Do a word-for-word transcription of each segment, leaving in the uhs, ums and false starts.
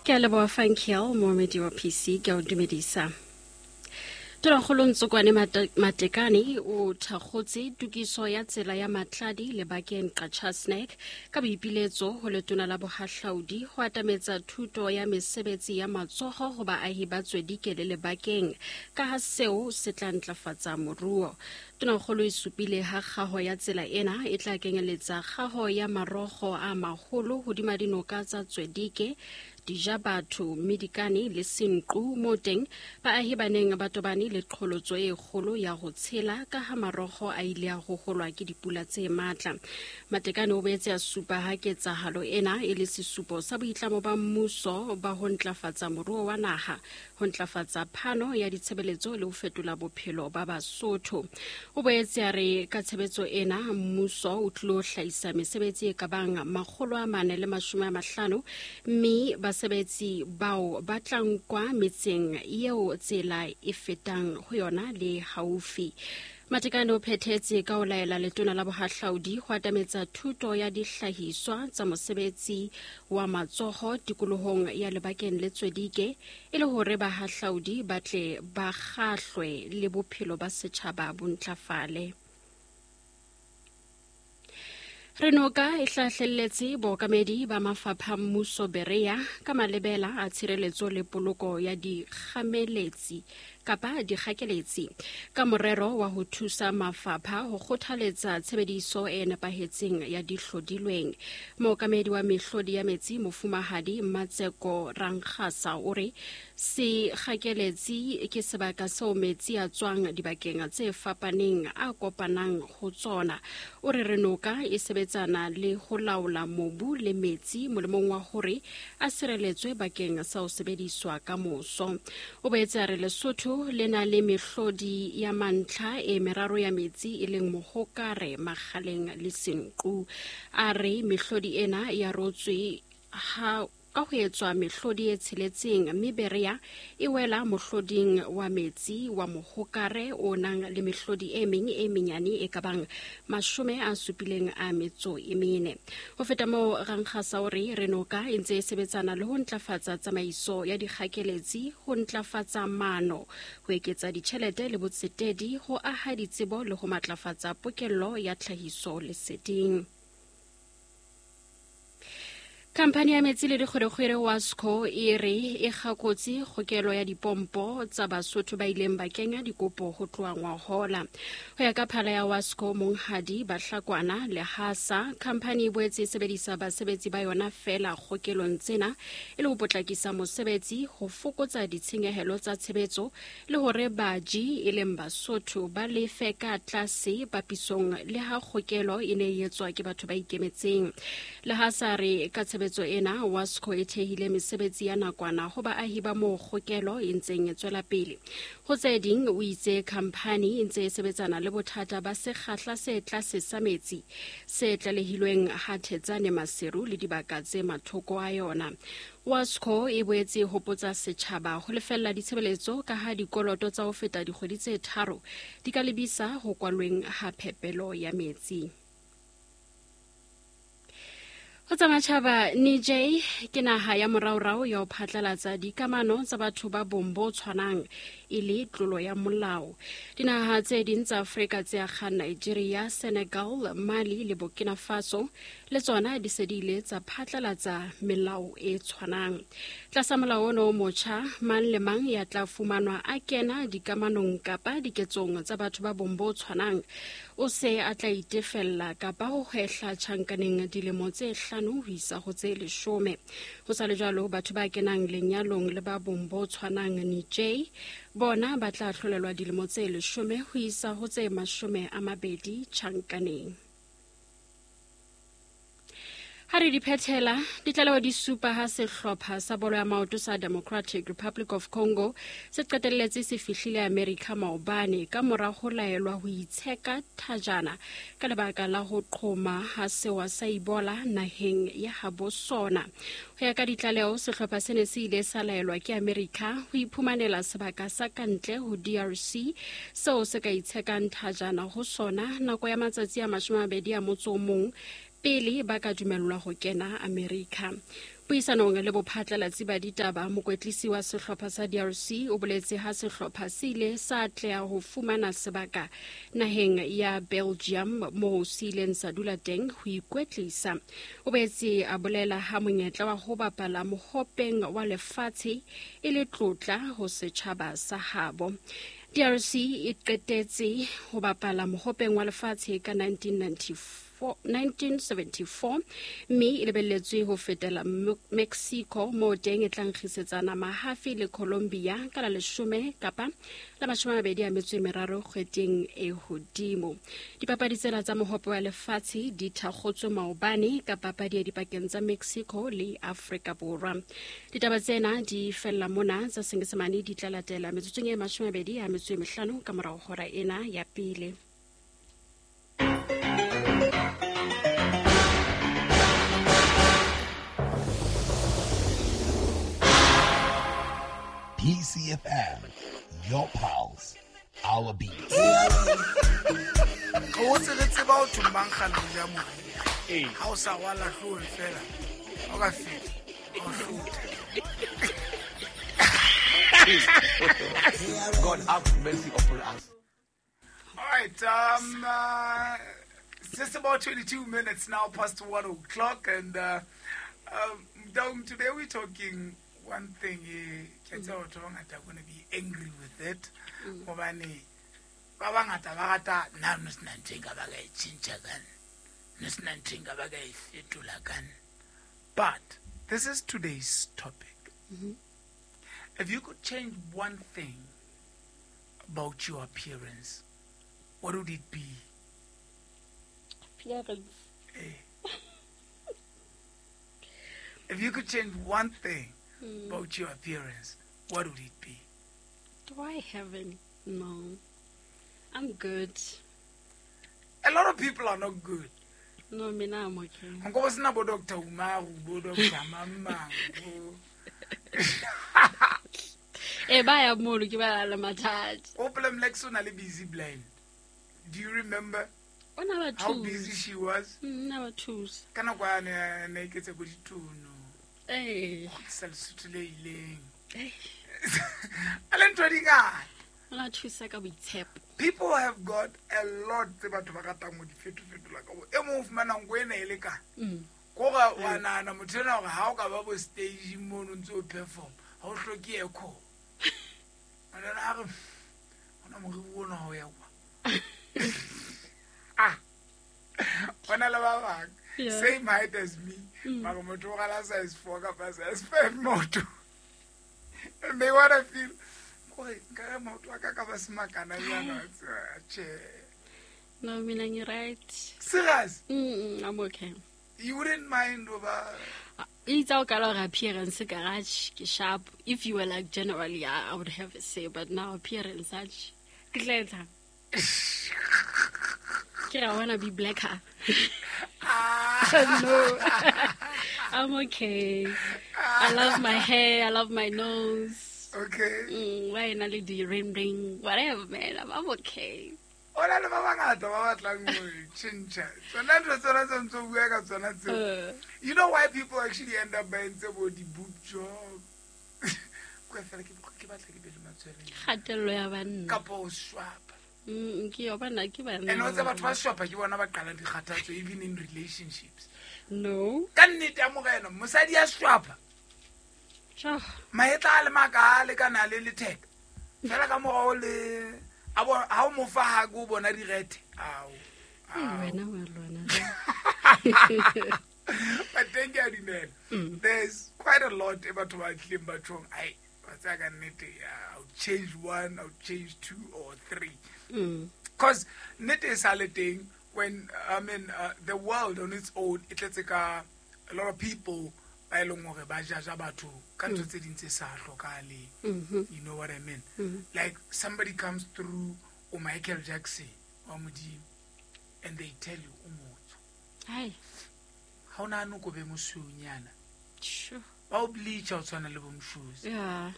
Ke a leboha Funkiel, moemedi wa P C, ke a o dumedisa. Tonakgolo Ntsokoane Matekane o thakgotse tokiso ya tsela ya Matladi lebakeng Qacha's Nek ka boipiletso ho letona la bohahlaudi ho atametsa thuto ya mesebetsi ya matsoho ho baahi ba Tswedike le lebakeng ka ha seo se tla ntlafatsa moruo. Tonakgolo e supile ha kgaho ya tsela ena e tla kenyeletsa kgaho ya marokgo a maholo hodima dinoka tsa Tswedike, Dijabatho, Medikane le Senqu mo teng baahi ba neng ba tobane le qholotso e kgolo ya ho tshela ka ha marokgo a ile a hoholwa ke dipula tse matla. Matekane o boetse a supa ha ketsahalo ena e le sesupo sa boitlamo ba mmuso ba ho ntlafatsa moruo wa naha, ho ntlafatsa phano ya ditshebeletso le ho fetola bophelo ba Basotho. O boetse a re ka tshebetso ena mmuso o tlilo hlahisa mesebetsi e ka bang makgolo a mane le mashome a mahlano mme basebetsi bao ba tla nkwa metseng eo tsela e fetang ho yona le haufi. Matekane o phethetse ka ho laela letona la bohahlaudi ho atametsa thuto ya dihlahiswa tsa mosebetsi wa matsoho tikolohong ya lebakeng le Tswedike e le hore bahahlaudi ba tle ba kgahlwe le bophelo ba setjhaba bo ntlafale. Renoka e hlahlelletse bookamedi ba mafapha mmuso Berea ka malebela a tshireletso le poloko ya dikgameletsi kapa dikgakeletsi ka morero wa ho thusa mafapha ho kgothaletsa tshebediso e nepahetseng ya dihlodilweng. Mookamedi wa mehlodi ya metsi Mofumahadi Matseko Rankgasa o re sekgakeletsi ke sebaka seo metsi a tswang dibakeng tse fapaneng a kopanang ho tsona. O re Renoka e sebetsana le ho laola mobu le metsi molemong wa hore a sireletswe bakeng sa ho sebediswa ka moso. O boetse a re Lesotho le na le mehlodi ya mantlha e meraro ya metsi e leng Mohokare, Makgaleng le Senqu. A re mehlodi ena ya rotswe ha ka ho etswa mehlodi e tsheletseng mme Berea e wela mohloding wa metsi wa Mohokare o nang le mehlodi e meng e menyane e ka bang mashome a supileng a metso e mene. Ho feta moo, Rankgasa o re Renoka e ntse e sebetsana le ho ntlafatsa tsamaiso ya dikgakeletsi, ho ntlafatsa mano, ho eketsa ditjhelete le botsetedi, ho aha ditsebo le ho matlafatsa pokello ya tlhahiso leseding. Khamphani ya metsi le dikgwerekgwere Wasco e re e kgakotse kgokelo ya dipompo tsa Basotho ba ileng ba kenya dikopo ho tloha ngwahola. Ho ya ka phala ya Wasco Monghadi Bahlakwana Lehasa, khamphani e boetse e sebedisa basebetsi ba yona feela kgokelong tsena e le ho potlakisa mosebetsi, ho fokotsa ditshenyehelo tsa tshebetso le hore baji e leng Basotho ba lefe ka tlase papisong le ha kgokelo e ne e etswa ke batho ba ikemetseng. Lehasa re ka tshebetso ena Wasco e thehile mesebetsi ya nakwana ho baahi ba moo kgokelo e ntseng e tswela pele. Ho tse ding o itse khamphani e ntse e sebetsana le bothata ba sekgahla se tlase sa metsi se tlalehilweng ha Thetsane Maseru le dibaka tse mathoko a yona. Wasco e boetse e hopotsa setjhaba ho lefella ditshebeletso ka ha dikoloto tsa ho feta dikgwedi tse tharo di ka lebisa ho kwalweng ha phepelo ya metsi. Ho tsa matjhaba, Niger ke naha ya moraorao ya ho phatlalatsa dikamano tsa batho ba bong bo tshwanang e le tlolo ya molao. Dinaha tse ding tsa Afrika tse akgang Nigeria, Senegal, Mali le Burkina Faso le tsona di se di ile tsa phatlalatsa melao e tshwanang. Tlasa molao ono o motjha, mang le mang ya tla fumanwa a kena dikamanong kapa diketsong tsa batho ba bong bo tshwanang o se a tla itefella kapa ho hwehla tjhankaneng dilemo tse hlano ho isa ho tse leshome. Ho sa le jwalo, batho ba kenang lenyalong le ba bong bo tshwanang Niger bona ba tla hlolelwa dilemo tse leshome ho isa ho tse mashome a mabedi tjhankaneng. Ha re di phethela, ditlaleho di supa ha sehlopha sa bolo ya maoto sa Democratic Republic of Congo se qetelletse se fihlile America maobane ka mora ho laelwa ho itsheka thajana ka lebaka la ho qhoma ha sewa sa Ebola naheng ya habo sona. Ho ya ka ditlaleho, sehlopha se ne se ile sa laelwa ke America ho iphumanela sebaka sa kantle ho D R C seo se ka itshekang thajana ho sona nako ya matsatsi a mashome a mabedi a motso o mong pele ba ka dumellwa ho kena Amerika. Puisanong le bophatlalatsi ba ditaba, mokwetlisi wa sehlopha sa D R C o boletse ha sehlopha se ile sa atleha ho fumana sebaka naheng ya Belgium moo se ileng sa dula teng ho ikwetlisa. O boetse a bolela ha monyetla wa ho bapala mohopeng wa lefatshe e le tlotla ho setjhaba sa habo. D R C e qetetse ho bapala mohopeng wa lefatshe ka nineteen ninety-four nineteen seventy-four mme e lebelletswe ho fetela Mexico moo teng e tla nkgisetsana mahafi le Colombia ka la leshome kapa la mashome a mabedi a metso e meraro kgweding e hodimo. Dipapadi tsena tsa mohope wa lefatshe di thakgotswe maobane ka papadi ya dipakeng tsa Mexico le Afrika Borwa. Ditaba tsena di fella mona, tsa Senyesemane di tla latela metsotsong e mashome a mabedi a metso e mehlano ka morao hora ena ya pele. P C F M, your pulse, our beat. O tsebetse ba o thomang kgale ja mo. Ha o sa rwala hloohong fela, o ka feta, o hlotha. God have mercy upon us. All right, um, uh, it's just about twenty-two minutes now past one o'clock, and uh, um, today we're talking one thing. Ke tseba batho ba bangata are going to be angry with it. Hobane ba bangata ba rata nna no sena ntho e nka ba ka e tjhentjha ka nna. No sena ntho e nka ba ka e fetola ka nna. But this is today's topic. Mm-hmm. If you could change one thing about your appearance, what would it be? Appearance. Eh. If you could change one thing mm. about your appearance, what would it be? Do I have any? No. I'm good. A lot of people are not good. No, me now I'm okay. Nko sena bo Doctor Umaru, bo Doctor Mama. Eh, ba ya mono ke ba la mathata. O problem like so na le busy blind. Do you remember? O na ba how busy she was? Mm, na ba thusa. Ka nako ya ne ne iketse bo dituno. Eh. Sa lesotho le ileng. Eh. A le ntho di ngata. O na thusa ka boitshepo. People have got a lot tse batho ba ratang ho di fetofetola ka bo. E mong o fumana nko ena e le ka. Mm. Ko ga wa nahana motho ena hore ha o ka ba bo stage mono ntse o perform, ha o hloke echo. Ana a re ona moriri ona ho ya kwa. Ah. Ona le ba bang. Same height as me. Mara motho o rala size four kapa size five maoto. And they wanna feel kore nka maoto a ka ka ba semakana jana tjhe. No, mina ngi right. Serious? Mm, I'm okay. You wouldn't mind over It's all kind of appearance garage sharp. If you were like generally, I, I would have a say, but now appearance such. I wanna be blacker. Ah. No, I'm okay. I love my hair. I love my nose. Okay. Mm, why not do ring ring? Whatever, man. I'm, I'm okay. Ona le ba bangata ba batlang ho tjhentjha. Tsona ntho tsona tse ntse o bua ka tsona tseo. You know why people actually end up buying tse bo di-boob job? Kwa fela ke ke batla ke be le matshwele. Kgatello ya banna. Kapa o swapa. Mm, ke yo bana ke banna. And o tse batho ba swapa ke bona ba qalang dikgathatso even in relationships. No. Ka nnete ya morena, mosadi ya swapa. Tjho. Mahetla a le maka a lekana le letheka. Fela ka morao le a bo ha o mo fa ha go bona direthe. Ao. Wena wa lwana. But thank you, dumela. There's quite a lot batho ba tlileng ba tjhong, ai, wa tsaya ka nnete, I'll change one, I'll change two or three. Because nnete e sa le teng when I mean uh, the world on its own e tletse ka a lot of people ba e leng hore ba jaja batho ka ntho tse ding tse sa hlokahaleng. You know what I mean? Mm-hmm. Like somebody comes through o Michael Jackson wa Modimo and they tell you o motho. Hai. Ha o nahane ko be mosweunyana. Sure. Ba o bleacha o tshwana le bo Mshozi. Yeah.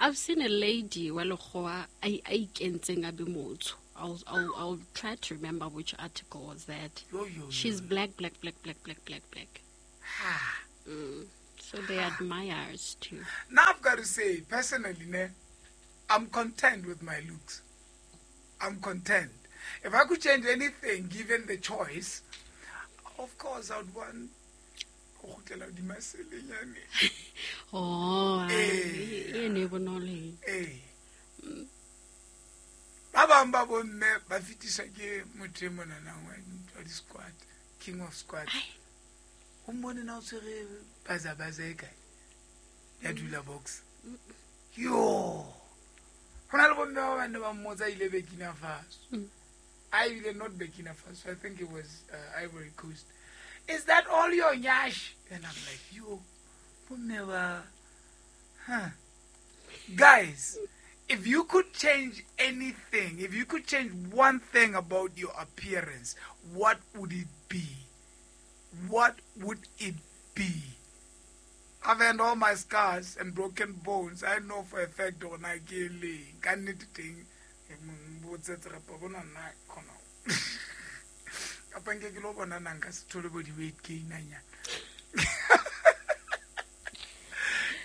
I've seen a lady wa lekgowa a a ikentseng a be motho. I'll, I'll, I'll try to remember which article was that. Yo, yo, yo. She's black, black, black, black, black, black, black. Ha. Mm. So they admire us too. Now I've got to say, personally, ne, I'm content with my looks. I'm content. If I could change anything, given the choice, of course I'd want. Oh, e ne bonolo. Eh. Ba bang ba bomme ba fetiswa ke motho e monanang wa di-squat, king of squat. O mmone na o tshwere baza-baza e kae ya dula box. Yo! Ho na le bomme ba bang ne ba mmotsa ile Burkina Faso. I ile not Burkina Faso, I think it was uh, Ivory Coast. Is that all your nyash? And I'm like, yo, bomme ba, huh. Guys, if you could change anything, if you could change one thing about your appearance, what would it be? What would it be? I've had all my scars and broken bones. I know for a fact on I can thing.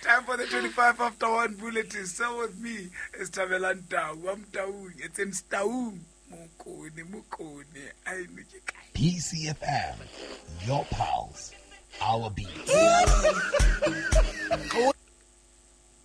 Time for the twenty-five after one bulletin. So with me is Thabelang Tau. I'm Tau. It's in Tau. Mokone, mokone. I P C F M, your pals, our beat.